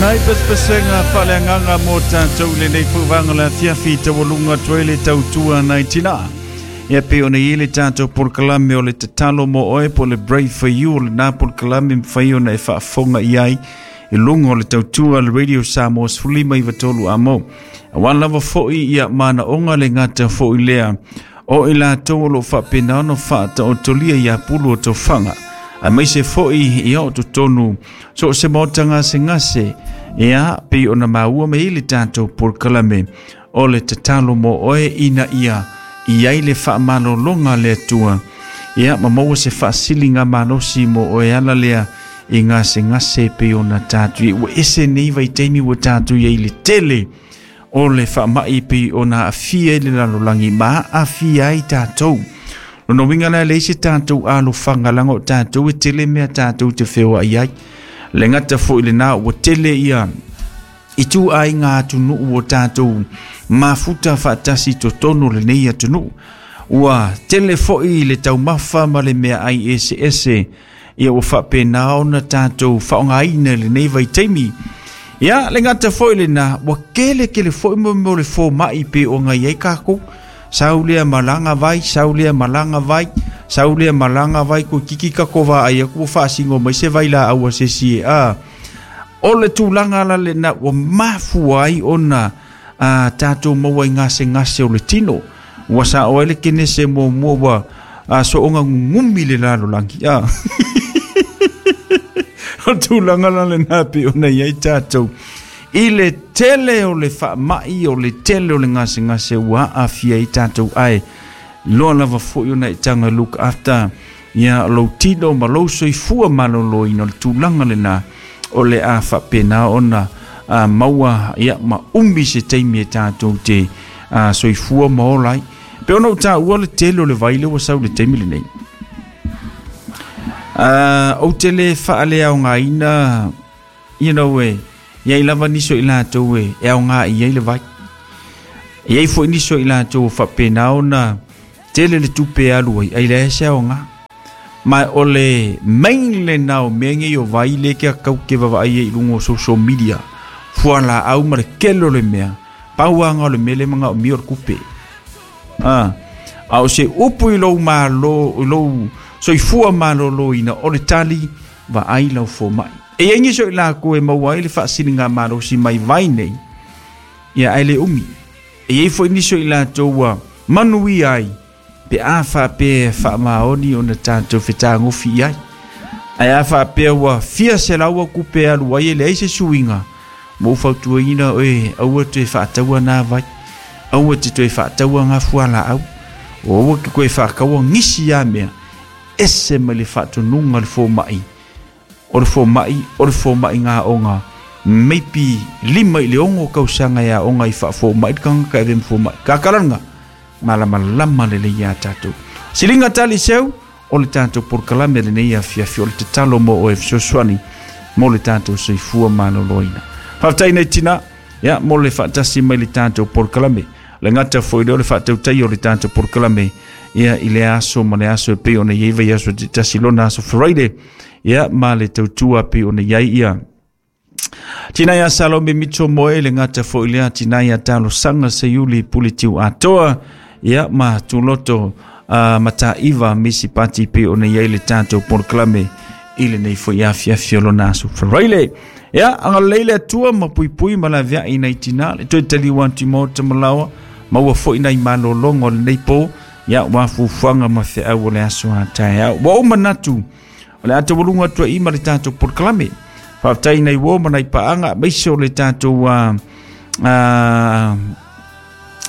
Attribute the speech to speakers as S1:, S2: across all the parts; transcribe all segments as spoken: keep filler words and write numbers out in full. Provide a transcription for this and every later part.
S1: Nai pesepesega faaleagaga mo tatou i lenei fauvaga le afiafi taualuga atu ai le tautua nai tinā. Ia pei ona i ai le tatou polokalame o le tatalo mo oe po o le Brave for You, o lenā polokalame mafai ona e faafofoga i ai i luga o le tautua a le Radio Samoa sefulu lima iva tolu amo. Auā lava fo'i ia manaoga le gata fo'i lea o i latou o loo faapena ona faataotolia ia pulu o tofaga aemaise fo'i ia o totonu so o se maota gasegase. Ia pei ona maua mai le tatou polokalame o le tatalo mo oe ina ia i ai le faamalologa le Atua, ia ma maua se faasiliga malosi mo oe ala lea i gasegase pei ona tatou ua ese nei vaitaimi ua tatou iai le tele o le faamai pei ona aafia i le lalolagi ma aafia ai tatou. Lona uiga la, leai se tatou alofaga laga o tatou e tele mea tatou te feoai ai. Le gata foi lenā ua tele ia i ituaiga atunuu o tatou mafuta faatasi totonu lenei atunuu, ua tele foi le taumafa ma le mea ai eseese ia ua faapena ona tatou faaaogaina i lenei vaitaimi. Ia le gata foi lenā ua kele kele foi mo mo le fomai pe o ngai ai kākou sau lea malaga vai, sau lea malaga vai, sau lea malaga vai ko kiki ka ko va ai ku faasigo mai se vai la aua se si a o le tulaga la lena ua mafua ai ona a tatou maua i gasegase o le tino ua sao ai le kenese muamua ua a soonga gugumi le lalolagi a o tulaga la lena pe ona i ai tatou i le tele o le faamai o le tele o le gasegase ua aafia ai tatou. Ae loa lava foi ona e taga look after ia lou tino ma lou soifua malōlōina, o le tulaga lenā o le a faapena ona a, maua ia ma umi se taimi e tatou te a, soifua ma ola ai. Pe ona ou tāua le tele o le vai le ua sau le taimi lenei. Uh, ou te le faaleaogaina, you know, e iai lava nisi o i latou e e aoga i ai le vai. E iai foi nisi o i latou o faapena ona tele le tupe e alu ai, ai leai se aoga. Ma o le main lenā o mea nei o vai le ke kau ke vaavaai ai i luga o social media. Fualaau ma le kele o le mea. Pau anga o le mele manga o mio o le kupe. Ah, a o se upu i lou malo, i lou soifua malōlōina o le tali vaai lau fomai. E iai nisi o i lakou e maua ai le faasiliga malosi mai vai nei, ia ae le umi. E iai foi nisi o i latou ua manuia ai pe a faapea e faamaoni ona tatou fetagofi i ai. Ae a faapea ua fia selau au kupe e alu ai e leai se suiga, ma ou fautuaina oe aua toe faataua nā vai, aua te toe faataua ngā fualaau, o aua ke koe faakaua gisi a mea, ese mai le faatonuga le fomai. O le fomai, o le fomai ngā onga, meipi lima i le ongo kausaga e aoga i faafomai le kagaka e ave ma fomai. Kakalanga, malamalama lelei iā tatou. Siliga tali seu, o le tatou polokalame lenei afiafi o le tatalo mo oe fesoasoani mo le tatou soifua malōlōina. Faafetai nei tinā, ia mo le faatasi mai le tatou polokalame. Le gata foi lea o le faatautai o le tatou polokalame ia i le aso ma le aso e pei ona i ai vaiaso te tasi lona aso Friday ia ma le tautua pei ona i ai ia Tina ia Salome Mito Moe le gata foi lea tina ia talosaga Seiuli Puletiu atoa ia ma tuloto uh, mataiva misi pati pe ona i ai le tatou polokalame i lenei foi afiafi o lona aso Friday. Ia, agalelei le Atua ma puipui ma laveai nai tinā le toe taliu atu i maota ma laoa, maua foi nai malōloga o lenei pō, ia ua fuafuaga ma feau o le aso a taeao. Ua ou manatu, o le a taualuga atu ai ma le tatou polokalame. Faafetai nai uo ma nai paaga, aemaise o le tatou uh, uh,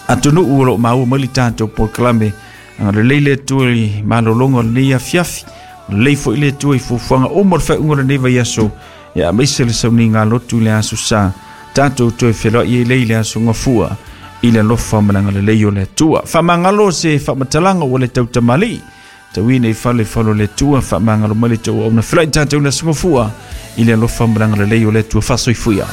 S1: atunuu o loo maua mai le tatou polokalame. Agalelei le Atua i malōloga o lenei afiafi. Lelei foi le Atua i fuafuaga uma o le faaiuga o lenei vaiaso. Ia aemaise le sauniga lotu i le aso sa. Tatou toe feloai ai lea i le aso gafua i le alofa ma le agalelei o le Atua. Faamagalo se faamatalaga ua le tautamalii. Tauina i fale falo le Atua, faamagalo mai le tauauna. Feloai tatou i le aso gafua i le alofa ma le agalelei o le Atua. Faasoifua.